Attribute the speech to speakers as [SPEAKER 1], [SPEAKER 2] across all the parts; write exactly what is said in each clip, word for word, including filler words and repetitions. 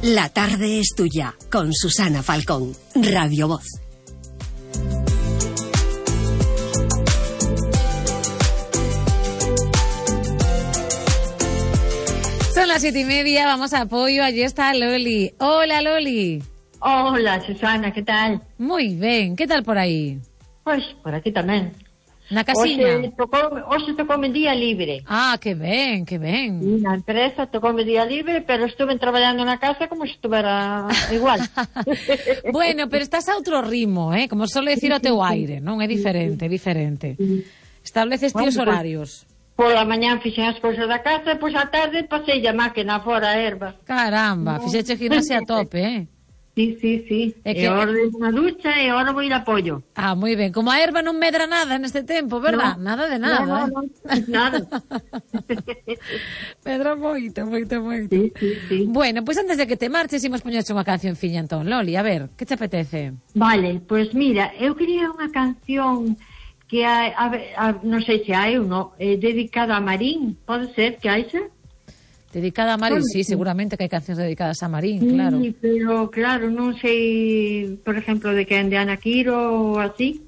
[SPEAKER 1] La tarde es tuya, con Susana Falcón, Radio Voz.
[SPEAKER 2] Son las siete y media, vamos a apoio, allí está Loli. Hola, Loli.
[SPEAKER 3] Hola, Susana, ¿qué tal?
[SPEAKER 2] Muy ben, que tal por aí?
[SPEAKER 3] Pois, por aquí tamén.
[SPEAKER 2] Na casiña?
[SPEAKER 3] Hoxe tocou, hoxe tocoume día libre.
[SPEAKER 2] Ah, que ben, que ben.
[SPEAKER 3] E na empresa tocoume día libre, pero estuve traballando na casa como se estuvera igual.
[SPEAKER 2] Bueno, pero estás a outro ritmo, eh? Como solo decir o teu aire, non? É diferente, é diferente. Estableces ti os horarios.
[SPEAKER 3] Pola mañán fixen as cousas da casa, e pois a tarde pasei a máquina fora a erva.
[SPEAKER 2] Caramba, fixeche gimnasia a tope, eh?
[SPEAKER 3] Sí, sí, sí.
[SPEAKER 2] É
[SPEAKER 3] E
[SPEAKER 2] que...
[SPEAKER 3] ahora unha ducha e ahora vou ir a apoio.
[SPEAKER 2] Ah, moi ben. Como a erva non medra nada neste tempo, verdad?
[SPEAKER 3] No,
[SPEAKER 2] nada de nada,
[SPEAKER 3] no,
[SPEAKER 2] eh?
[SPEAKER 3] no, nada.
[SPEAKER 2] Medra moito, moito, moito.
[SPEAKER 3] Sí, sí, sí.
[SPEAKER 2] Bueno, pois pues antes de que te marches, imos poñerche unha canción fiña, entón. Loli, a ver, que te apetece?
[SPEAKER 3] Vale, pois pues mira, eu quería unha canción que hai, a, a, non sei se hai ou non, eh, dedicada a Marín, pode ser que haixa?
[SPEAKER 2] Dedicada a Marín, sí, seguramente que hai cancións dedicadas a Marín, claro.
[SPEAKER 3] Sí, pero claro, non sei, por exemplo, de quen, de Ana Quiro ou así.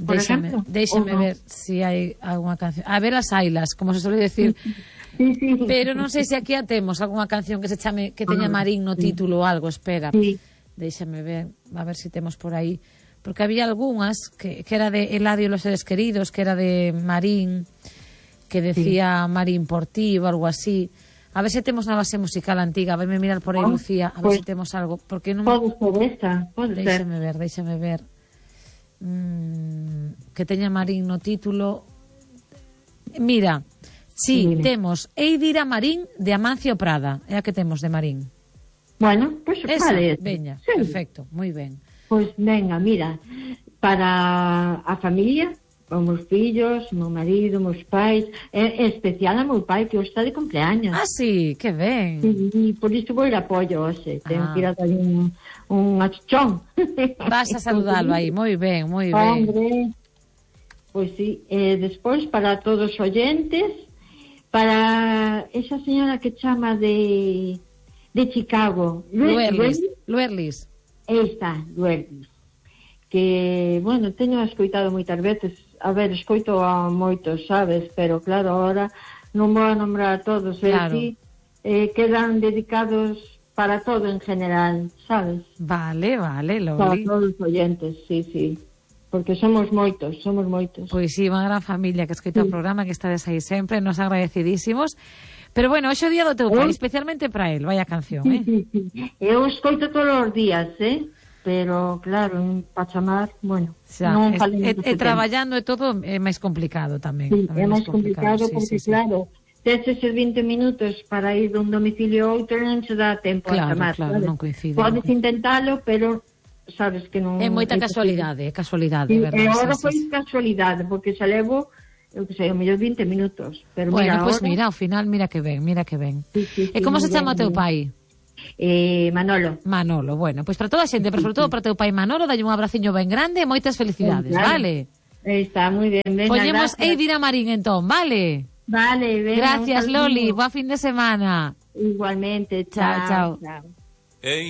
[SPEAKER 2] Déxame, déxame
[SPEAKER 3] no?
[SPEAKER 2] ver se si hai algunha canción. A ver as ailas, como se suele decir.
[SPEAKER 3] Sí, sí.
[SPEAKER 2] Pero non sei se aquí a temos algunha canción que se chame, que teña Marín no título ou algo, espera.
[SPEAKER 3] Sí.
[SPEAKER 2] Déxame ver, a ver se si temos por aí. Porque había algunhas que, que era de Eladio y los seres queridos, que era de Marín, que decía sí. Marín por ti ou algo así. A ver se temos na base musical antiga, a verme mirar por aí, oh, Lucía, a ver pues, se temos algo, porque non...
[SPEAKER 3] Pode ser esta, pode ser.
[SPEAKER 2] Déxame ver, déxame ver. Mm, que teña Marín no título. Mira, sí, sí temos Eidira Marín de Amancio Prada, é a que temos de Marín.
[SPEAKER 3] Bueno, pois pues, vale.
[SPEAKER 2] Veña, sí. Perfecto, moi ben.
[SPEAKER 3] Pois pues, venga, mira, para a familia, os meus fillos, o meu marido, os meus pais, é especial a meu pai que hoxe está de cumpleaños.
[SPEAKER 2] Ah, sí, que ben.
[SPEAKER 3] Sí, por iso vou ir a apoio hoxe, tengo ah. que ir a dar un, un achuchón.
[SPEAKER 2] Vas a saludalo aí, moi ben, moi ben.
[SPEAKER 3] Hombre, pois sí, eh, despois para todos os oyentes, para esa señora que chama de de Chicago,
[SPEAKER 2] Luerlis, Luerlis.
[SPEAKER 3] Esta, Luerlis, que, bueno, teño escoitado moitas veces. A ver, escoito a moitos, sabes, pero claro, ahora non vou a nombrar a todos, claro. E si, eh, quedan dedicados para todo en general, sabes?
[SPEAKER 2] Vale, vale, Loli.
[SPEAKER 3] Para todos os oyentes, sí, sí, porque somos moitos, somos moitos.
[SPEAKER 2] Pois sí, unha gran familia que escoita sí. o programa, que estades aí sempre, nos agradecidísimos. Pero bueno, hoxe o día do teu pai, especialmente para el, vaya canción,
[SPEAKER 3] sí,
[SPEAKER 2] eh?
[SPEAKER 3] Sí, sí, Eu escoito todos os días, eh? Pero claro, en Pachamar, bueno,
[SPEAKER 2] xa,
[SPEAKER 3] non
[SPEAKER 2] es,
[SPEAKER 3] falen
[SPEAKER 2] e, e traballando e todo é máis complicado tamén.
[SPEAKER 3] Sí,
[SPEAKER 2] tamén
[SPEAKER 3] é máis complicado, complicado
[SPEAKER 2] sí,
[SPEAKER 3] porque
[SPEAKER 2] sí, sí.
[SPEAKER 3] claro, tes eses vinte minutos para ir dun domicilio a outro non se dá tempo
[SPEAKER 2] claro,
[SPEAKER 3] a chamar,
[SPEAKER 2] claro,
[SPEAKER 3] sabes?
[SPEAKER 2] non coincide.
[SPEAKER 3] Podes intentalo, pero sabes que non...
[SPEAKER 2] É moita casualidade, é casualidade,
[SPEAKER 3] sí,
[SPEAKER 2] verdad?
[SPEAKER 3] E agora
[SPEAKER 2] sí,
[SPEAKER 3] foi
[SPEAKER 2] sí.
[SPEAKER 3] casualidade, porque xa levo, eu que sei, o mellor vinte minutos. Pero
[SPEAKER 2] bueno,
[SPEAKER 3] mira,
[SPEAKER 2] pois pues
[SPEAKER 3] ahora...
[SPEAKER 2] mira, ao final, mira que ben, mira que ben.
[SPEAKER 3] Sí, sí, sí,
[SPEAKER 2] e como se chama o teu
[SPEAKER 3] bien.
[SPEAKER 2] pai?
[SPEAKER 3] Eh, Manolo.
[SPEAKER 2] Manolo, bueno, pois para toda a xente, pero sobre todo para teu pai Manolo, dalle un abraciño ben grande e moitas felicidades,
[SPEAKER 3] claro.
[SPEAKER 2] Vale?
[SPEAKER 3] Está moi ben, venga,
[SPEAKER 2] Poñemos
[SPEAKER 3] gracias.
[SPEAKER 2] Eidira Marín entón, vale?
[SPEAKER 3] Vale, venga.
[SPEAKER 2] Gracias, Loli, boa fin de semana.
[SPEAKER 3] Igualmente, chao,
[SPEAKER 2] chao.
[SPEAKER 3] chao.
[SPEAKER 4] Hey.